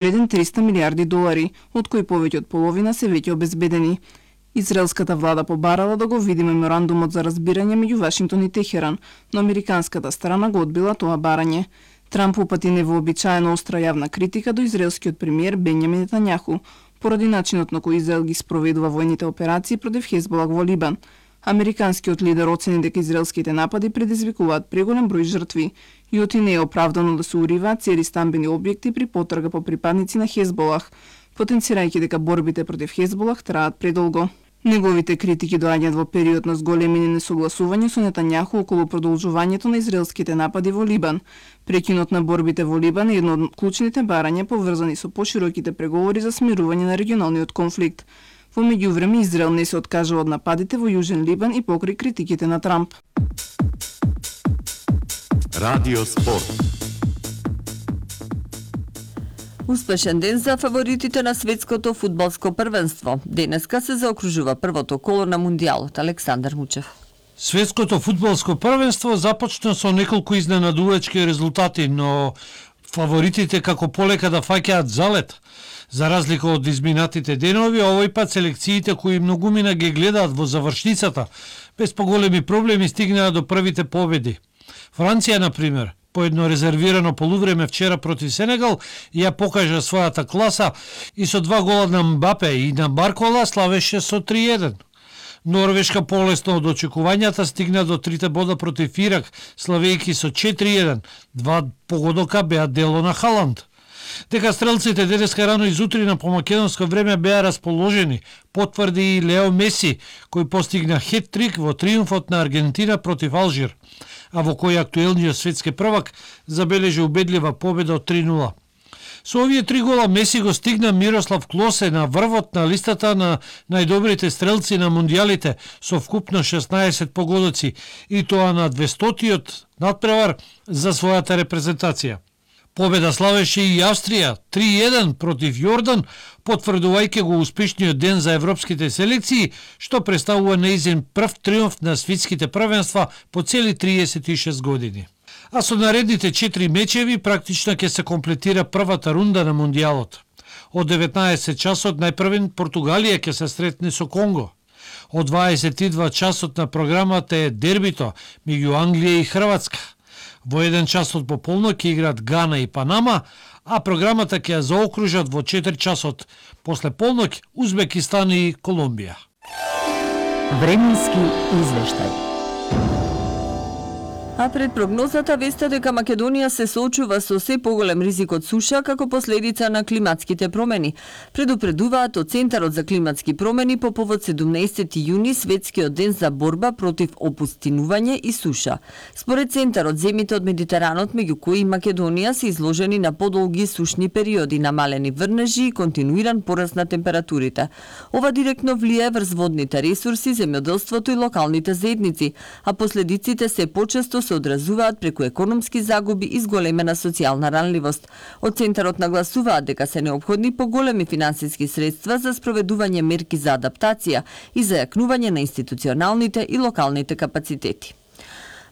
вреден 300 милиарди долари, од кои повеќе од половина се веќе обезбедени. Израелската влада побарала да го види меморандумот за разбирање меѓу Вашингтон и Техеран, но американската страна го одбила тоа барање. Трамп упати невообичаено остра јавна критика до израелскиот премиер Бенјамин Нетањаху поради начинот на кој Израел ги спроведува војните операции против Хезболах во Либан. Американскиот лидер оцени дека израелските напади предизвикуваат преголем број жртви и оти не е оправдано да се уриваат цели стамбени објекти при потрага по припадници на Хезболах, потенцирајќи дека борбите против Хезболах траат предолго. Неговите критики доаѓаат во период на зголемени несогласувања со Нетањаху околу продолжувањето на израелските напади во Либан. Прекинот на борбите во Либан е едно од клучните барања поврзани со пошироките преговори за смирување на регионалниот конфликт. Во меѓувреме Израел не се откажува од нападите во Јужен Либан и покрај критиките на Трамп. Радио Спорт. Успешен ден за фаворитите на светското фудбалско првенство. Денеска се заокружува првото коло на Мундијалот. Александар Мучев. Светското фудбалско првенство започна со неколку изненадувачки резултати, но фаворитите како полека да фаќаат залет. За разлика од изминатите денови, овој пат селекциите кои многумина ги гледаат во завршницата, без поголеми проблеми стигнаа до првите победи. Франција, например, по едно резервирано полувреме вчера против Сенегал, ја покажа својата класа и со 2 гола на Мбапе и на Баркола славеше со 3-1. Норвешка полесно од очекувањата стигна до 3 бода против Ирак, славејќи со 4-1. 2 погодока беа дело на Халанд. Дека стрелците денеска рано изутрина по македонско време беа расположени, потврди и Лео Меси, кој постигна хет-трик во триумфот на Аргентина против Алжир, а во кој актуелниот светски првак забележи убедлива победа од 3-0. Со овие 3 гола Меси го стигна Мирослав Клосе на врвот на листата на најдобрите стрелци на мундијалите со вкупно 16 погодоци и тоа на 200-тиот надпревар за својата репрезентација. Победа славеше и Австрија 3-1 против Јордан, потврдувајќи го успешниот ден за европските селекции, што представува неизин прв триумф на светските првенства по цели 36 години. А со наредните 4 мечеви практично ќе се комплетира првата рунда на Мундијалот. Од 19 часот најпрвен Португалија ќе се сретне со Конго. Од 22 часот на програмата е дербито меѓу Англија и Хрватска. Во 1 часот по полнок ќе играат Гана и Панама, а програмата ќе ја заокружат во 4 часот после полнок Узбекистан и Колумбија. Временски извештај. А пред прогнозата веста дека Македонија се соочува со се поголем ризик од суша како последица на климатските промени. Предупредуваат од Центарот за климатски промени по повод 17 јуни, светскиот ден за борба против опустинување и суша. Според Центарот, земите од Медитеранот, меѓу кои Македонија, се изложени на подолги сушни периоди, намалени врнежи и континуиран пораст на температурите. Ова директно влијае врз водните ресурси, земјоделството и локалните заедници, а последиците се почесто се одразуваат преку економски загуби и зголемена социјална ранливост. Од Центарот нагласуваат дека се неопходни поголеми финансиски средства за спроведување мерки за адаптација и за јакнување на институционалните и локалните капацитети.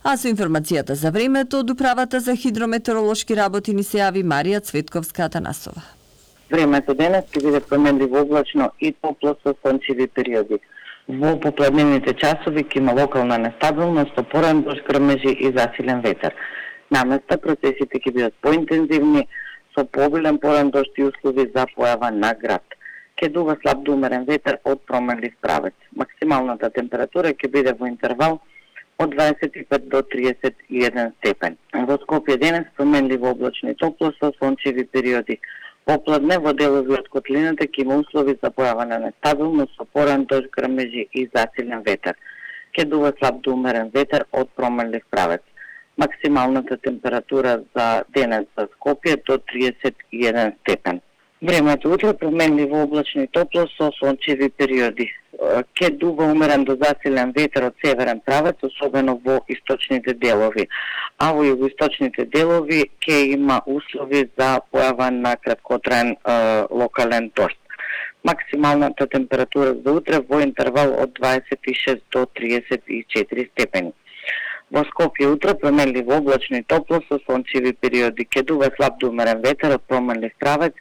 А со информацијата за времето од Управата за хидрометеоролошки работи ни се јави Марија Цветковска-Атанасова. Времето денес ќе биде променливо облачно и топло со сончеви периоди. Во попладневните часови ќе има локална нестабилност, опорен дожд, грмежи и засилен ветер. Наместа процесите ќе бидат поинтензивни, со пообилен порен дожд и услови за појава на град. Ќе дува слаб до умерен ветер од променлив правец. Максималната температура ќе биде во интервал од 25 до 31 степен. Во Скопје денес променливо облачно и топло со сончеви периоди. Попладне во делови од котлината ќе има услови за појава на нестабилност, со порен дожд, грмежи и засилен ветер. Ќе дува слаб до умерен ветер од променлив правец. Максималната температура за денес за Скопје до 31 степен. Времето утре променливо облачно и топло со сончеви периоди. Ќе дува умерен до засилен ветер од северен правец, особено во источните делови. А во југоисточните делови ќе има услови за појава на краткотраен локален дожд. Максималната температура за утре во интервал од 26 до 34 степени. Во Скопје утре променливо облачно и топло со сончеви периоди. Ќе дува слаб до умерен ветер од променлив правец,